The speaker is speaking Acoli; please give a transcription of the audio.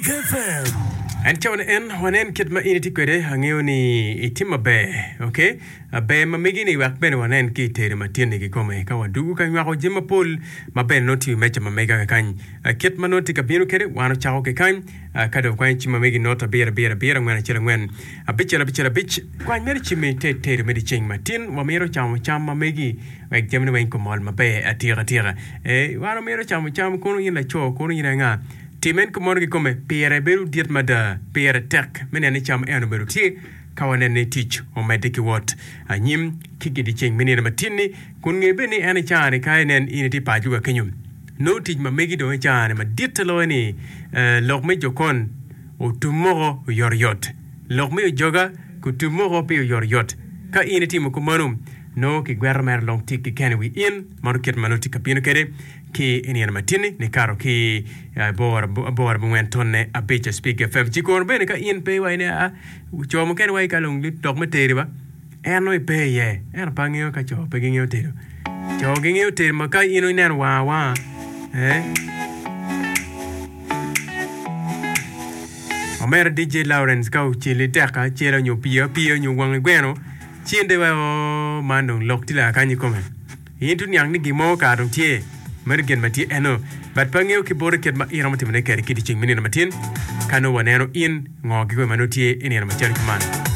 Spik FM. En cawa ni en wanen kit ma in itye kwede angeyo ni itye maber ok ber ma megi ni wek bene wanen ki itedo matin ni kikome ka wadugu ka nywako jami mapol ma bene nongo tye i meja ma mega kakany kit ma nongo tye ka bino kwede wan ocako ki kany ka dong kwanyo cim ma megi not abiro abiro abiro angwen acel angwen abicel abicel abic kwany mere cimmi te tedo me dyeceng matin wamito camo cam ma megi Wek jamine weng gumol maber atika tika. Ee, wan wamito camo cam kono in laco, kono in anga. Tim en kumeno kikome, pire bedo dit mada. Pire tek me neno ni cam eno obedo tye ka waneno ni tic omedde ki wot anyim ki gidyeceng me nino matin-ni, kun nge bene ni en i caa-ni ka inen in itye paco ka kenyo, nongo tic ma megi dong i caa-ni maditte loyo ni lok me jokon otum moko oyotoyot. Lok me ojoga kutum moko pi oyotoyot. Ka in itimo kumeno, nongo kigweto mere long tik keken i wi in. Mano kit ma nongo tye ka bino kwede ki i nino matinni nikato ki aboro aboro abongwen tonne abic Spik FM. Ci kono bene ka in pe iwaco ni aa, co mukene waci ka long lok me teri ba, en nongo ipe iye. Ento pe angeyo ka co pe gingeyo tedo. Co gingeyo tedo ma ka in ineno wang awanga, eh. Omera DJ Lawrence ka oceli tek acela nyo pii apiya nyo wangi gweno ci in dong iwaco oo man dong lok tye lakany ikome. In to niang ni gin mo kara dong tye meno gin ma tye eno but pe angeyo ki boti kit ma in romo timone kwede ki dyeceng me nino matin ka nongo waneno in ngo kikome ma nongo tye i nino macalo kuman.